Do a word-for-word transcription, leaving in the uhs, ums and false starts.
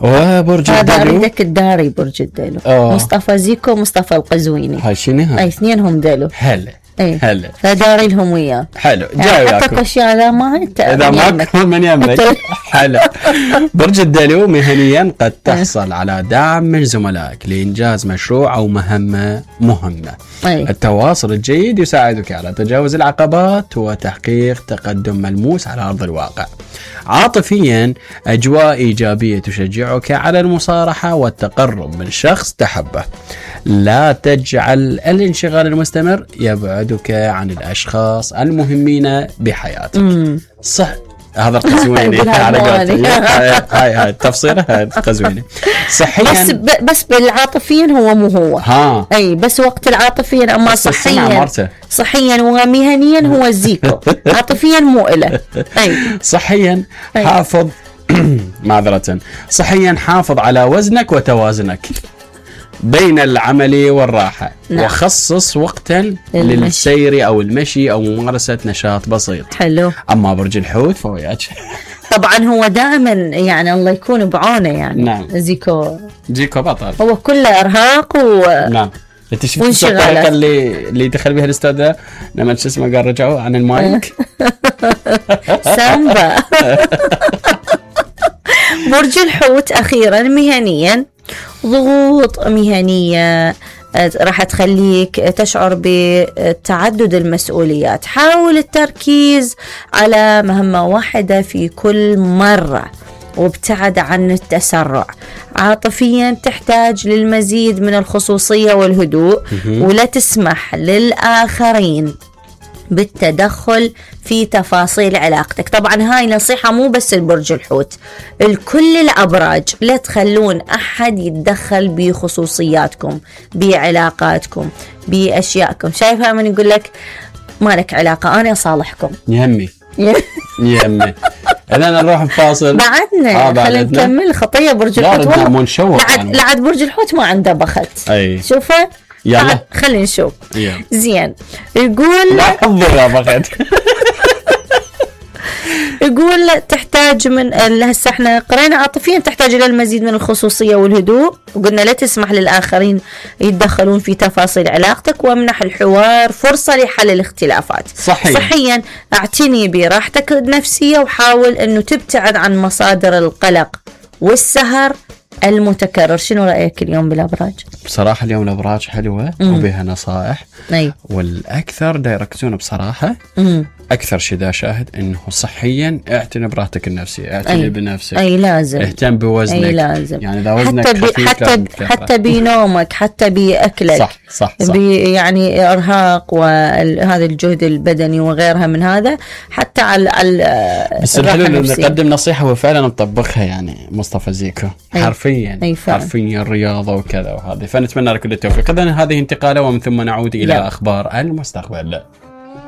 وبرج هذا الدلو اريدك الداري برج الدلو. أوه. مصطفى زيكو ومصطفى القزويني، هاي شنو هاي؟ اي اثنينهم دلو. هلا اي هلا فداري لهم وياه. حلو يعني جاي حطك وياكم اشياء اذا ما انت اذا ماك من يمك. حلو. برج الدلو مهنيا قد تحصل على دعم من زملائك لانجاز مشروع او مهمه مهمه. أي. التواصل الجيد يساعدك على تجاوز العقبات وتحقيق تقدم ملموس على ارض الواقع. عاطفيا اجواء ايجابيه تشجعك على المصارحه والتقرب من شخص تحبه. لا تجعل الانشغال المستمر يبعدك عن الاشخاص المهمين بحياتك. مم. صح هذا القزويني على قولتي. هاي هاي التفصيله هاي القزويني صحيا بس ب... بس بالعاطفيا هو مو هو. ها اي بس وقت العاطفيا اما بس السمع صحيا مرته. صحيا ومهنيا هو زيكو. عاطفيا مو إله. اي صحيا أي. حافظ معذرة صحيا حافظ على وزنك وتوازنك بين العمل والراحة. نعم. وخصص وقتا المشي. للسير أو المشي أو ممارسة نشاط بسيط. حلو. أما برج الحوت فهو ياج طبعا هو دائما يعني الله يكون بعونه يعني. نعم. زيكو جيكو بطل. هو كله ارهاق و نعم. انت شفت وانشغالات. الطريقة اللي اللي دخل بها الاستاذ لما شو اسمه قال رجعوا عن المايك. سامبا. برج الحوت اخيرا مهنيا ضغوط مهنية راح تخليك تشعر بتعدد المسؤوليات. حاول التركيز على مهمة واحدة في كل مرة وابتعد عن التسرع. عاطفيا تحتاج للمزيد من الخصوصية والهدوء ولا تسمح للآخرين بالتدخل في تفاصيل علاقتك. طبعا هاي نصيحة مو بس البرج الحوت، الكل الأبراج، لا تخلون أحد يتدخل بخصوصياتكم بعلاقاتكم بأشيائكم. شايفها من يقول لك ما لك علاقة أنا أصالحكم. يهمي يهمي انا نروح نفاصل بعدنا آه خلينا نكمل خطية برج الحوت. والله لعد, لعد برج الحوت ما عنده بخت. أي. شوفه يلا خلينا نشوف. يلا. زين يقول لا حضر يا بخت. يقول تحتاج من هسه احنا قرينا عاطفيا تحتاج الى المزيد من الخصوصيه والهدوء، وقلنا لا تسمح للاخرين يتدخلون في تفاصيل علاقتك، وامنح الحوار فرصه لحل الاختلافات. صحيح. صحيا اعتني براحتك النفسيه وحاول انه تبتعد عن مصادر القلق والسهر المتكرر. شنو رايك اليوم بالابراج؟ بصراحه اليوم الابراج حلوه مم. وبها نصائح. أي. والاكثر دا يركزون بصراحه مم. اكثر شيء دا شاهد انه صحيا اعتني براحتك النفسيه، اعتني أي. بنفسك، اي لازم اهتم بوزنك. اي لازم يعني اذا وزنك حتى بي خفيف حتى لازم ب تكثر. حتى بنومك، حتى باكلك. صح صح صح. يعني ارهاق وهذا الجهد البدني وغيرها من هذا، حتى على على بس الحلو انه نقدم نصيحه وفعلا نطبقها يعني مصطفى زيكو. أي. حرفيا أي فعلا. حرفيا رياضه وكذا وهذه. فنتمنى لك كل التوفيق. اذا هذه انتقاله ومن ثم نعود الى لا. اخبار المستقبل.